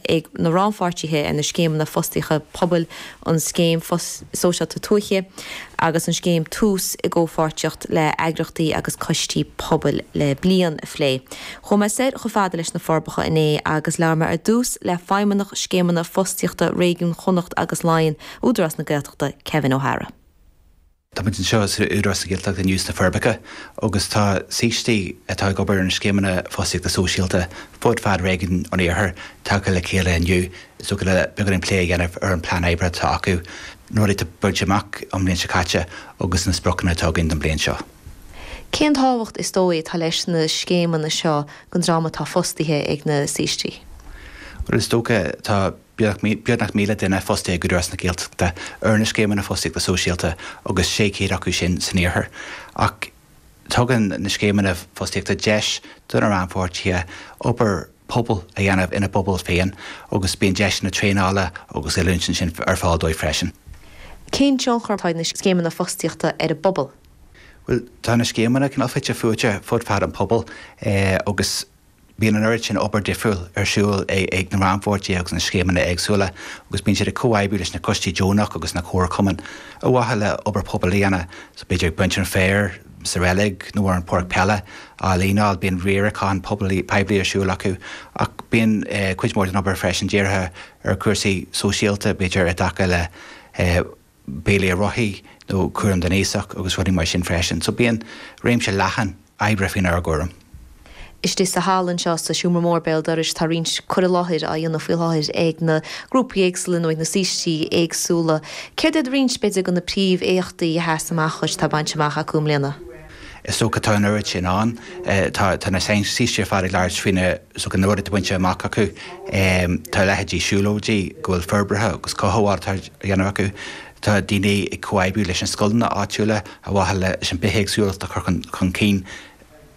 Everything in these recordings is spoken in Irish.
Ag na rannpháirtithe ar na scéimeanna fostaíochta pobail, an Scéim Sóisialta Tuaithe agus an Scéim Tús i gcomhpháirtíocht le eagraíochtaí agus coistí pobail le bliain a phlé. Chuaigh mé soir chomh fada leis na Forbacha inné agus labhair mé ar dtús le Feidhmeannach Scéimeanna Fostaíochta Réigiún Chonnacht agus Laighean, Údarás na Gaeltachta, Kevin O'Hara. Tá muid anseo sa Údarás na Gaeltachta inniu sna Forbacha agus tá saoistí atá ag obair ar na scéimeanna fostaíochta sóisialta fud fad réigiún an Iarthair tagtha le chéile inniu is dócha le beagáinín plé a dhéanamh ar an plean oibre atá acu, na rudaí atá bainte amach an bhliain seo caite agus na spriocanna atá againn don bhliain seo. Cén tábhacht is dóigh atá leis na scéimeanna seo don dream atá fostaithe ag na saoistí? Bhuel is dócha tá Beagnach 1,000 duine fostaithe ag Údarás na Gaeltachta ar na scéimeanna fostaíochta sóisialta agus 600 acu sin san iarthar. Ach tugann na scéimeanna fostaíochta deis do na rannpháirtithe obair pobail a dhéanamh ina bpobal féin agus bíonn deiseanna traenála agus oiliúint ansin ar fáil dóibh freisin. Cén tionchar atá ag na scéimeanna fostaíochta ar an bpobal? Bhuel, tá na scéimeanna cineál fite fuaite fud fad an pobail agus Bíonn an oiread sin obair difriúil ar siúl ag na rannpháirtithe agus na scéimeanna éagsúla agus bíonn siad ag comhoibriú leis na coistí deonach agus na comharchumainn ar mhaithe le obair pobail a dhéanamh. So b'fhéidir ag baint an féir sa reilig nó ar an pháirc peile á líneáil, bíonn riarachán poiblí ar siúl acu ach bíonn cuid mhór den obair freisin dírithe ar chúrsaí sóisialta, b'fhéidir i dtaca le béilí ar rothaí nó cúram don aosach agus rudaí mar sin freisin. So bíonn réimse leathan oibre faoinár gcúram. Istigh sa halla anseo sa seomra mór béal dorais tá roinnt cur i láthair á dhéanamh faoi láthair ag na grúpaí éagsúla nó ag na saoistí éagsúla. Céard iad roinnt, b'fhéidir, de na príomh-éachtaí a sheas amach dhuit atá bainte amach acu i mbliana? Is dócha tá an oiread sin ann. Tá na saoistí ar fad ag labhairt faoi na is dócha na rudaí atá bainte amach acu. Tá leithéidí siúlóidí go bhfuil forbartha agus cothabháil atá á dhéanamh acu. Tá daoine ag comhoibriú leis na scoileanna áitiúla ar mhaithe leis an bithéagsúlacht a chur chun cinn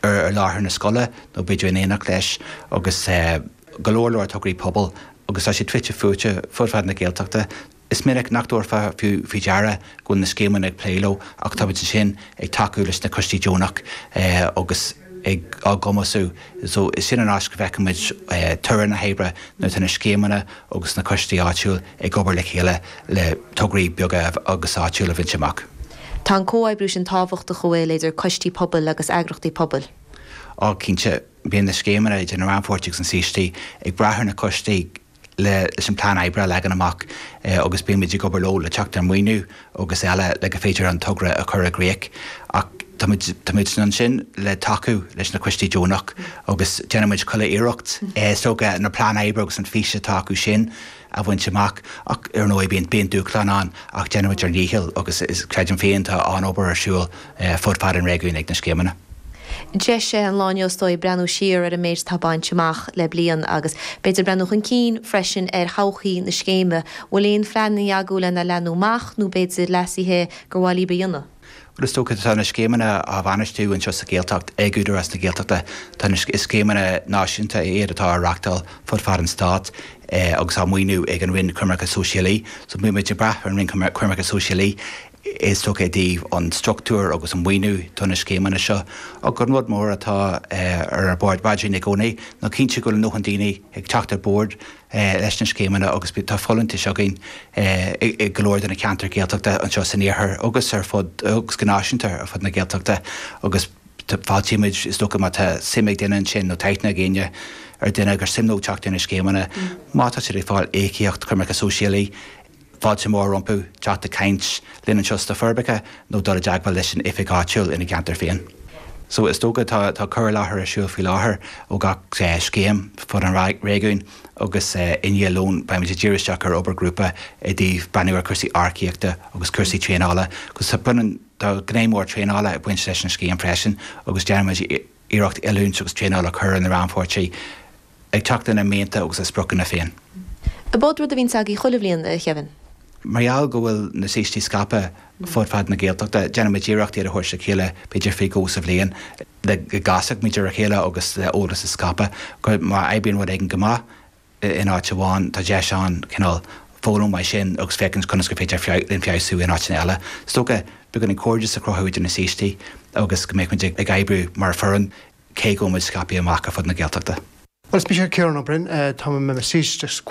ar láthair na scoile nó b'fhéidir in éineacht leis agus go leor leor tograí pobail agus tá siad fite fuaite fud fad na Gaeltachta. Is minic nach dtabharfá fiú faoi deara go bhfuil na scéimeanna ag plé leo ach tá muid ansin ag tacú leis na coistí deonach agus ag á gcumasú. So sin an áit go bhfeiceann muid toradh na hoibre nuair atá na scéimeanna agus na coistí áitiúil ag obair le chéile le tograí beaga agus áitiúil a bhaint amach. Tá an comhoibriú sin tábhachtach, an bhfuil, idir coistí pobail agus eagraíochtaí pobail? Á, cinnte. Bíonn na scéimeanna idir na rannpháirtithe agus na saoistí ag brath ar na coistí leis an plean oibre a leagan amach agus bíonn muid ag obair leo le teacht ar maoiniú agus eile le go féidir an togra a chur i gcrích. Ach tá muid, tá muid ansin le tacú leis na coistí deonach agus déanann muid chuile iarracht is dócha na plean oibre agus an fís atá acu sin a bhaint amach. Ach ar ndóigh bíonn, bíonn dúshláin ann ach déanann muid ár ndícheall agus is, creidim féin, tá an-obair ar siúl fud fad an réigiúin ag na scéimeanna. Deis é an lá inniu is dóigh breathnú siar ar an méid atá bainte amach le bliain agus b'fhéidir breathnú chun cinn freisin ar thodhchaí na scéime. Bhfuil aon phleananna agaibh lena leathnú amach nó b'fhéidir leasuithe gur mhaith libh a dhéanamh? Bhuel is dócha tá na scéimeanna á bhainistiú anseo sa Ghaeltacht ag Údarás na Gaeltachta. Tá na, is scéimeanna náisiúnta iad atá á reachtáil fud fad an stáit agus á maoiniú ag an Roinn Coimirce Sóisialaí. So bíonn muid ag brath ar an Roinn Coimirce Sóisialaí. Is dócha i dtaobh an struchtúr agus an mhaoiniú do na scéimeanna seo. Ach an rud mór atá ar ár bpaidrín i gcónaí ná cinntiú go bhfuil a ndóthain daoine ag teacht ar bord leis na scéimeanna agus tá folúntais againn i go leor de na ceantair Ghaeltachta anseo san iarthar agus ar fud agus go náisiúnta ar fud na Gaeltachta agus fáiltímid is dócha má tá suim ag duine ansin nó tá aithne ag éinne ar duine gur suim leo teacht ar na scéimeanna má tá siad ag fáil íocaíocht coimirce sóisialaí Fáilte mhór rompu teacht ag caint linn anseo sna Forbacha nó dul i dteagmháil leis an oifig áitiúil ina gceantar féin. So is dócha tá tá cur i láthair ar siúl faoi láthair ó gach scéim fud an réigiúin agus i ndiaidh lóin beimid ag díriú isteach ar obair grúpa i dtaobh breathnú ar chúrsaí earcaíochta agus cúrsaí traenála agus tá baineann tá gné mór traenála ag baint leis an scéim freisin agus déanaimid iarracht oiliúint agus traenáil a chur ar na rannpháirtithe ag teacht lena mianta agus a spriocanna féin. Ab ea rud a bhíonns agaibh chuile bhliain, a Kevin? Mar gheall go bhfuil na saoistí scaipthe fud fad na Gaeltachta, déanaimid iarracht iad a thabhairt le chéile b'fhéidir faoi dhó sa bhliain le go gcasfadh muid ar a chéile agus le eolas a scaipeadh. Má oibríonn rud éigin go maith in áit amháin, tá deis ann cineál foghlaim uaidh sin agus féachaint conas gur féidir linn feabhsú in áiteanna eile. Is dócha beagáinín cairdeas a chruthú idir na saoistí agus go mbeadh muid ag oibriú mar foireann. cé go bhfuil muid scaipthe amach ar fud na Gaeltachta. Well, is mise Ciarán Ó Broin, tá mé i mo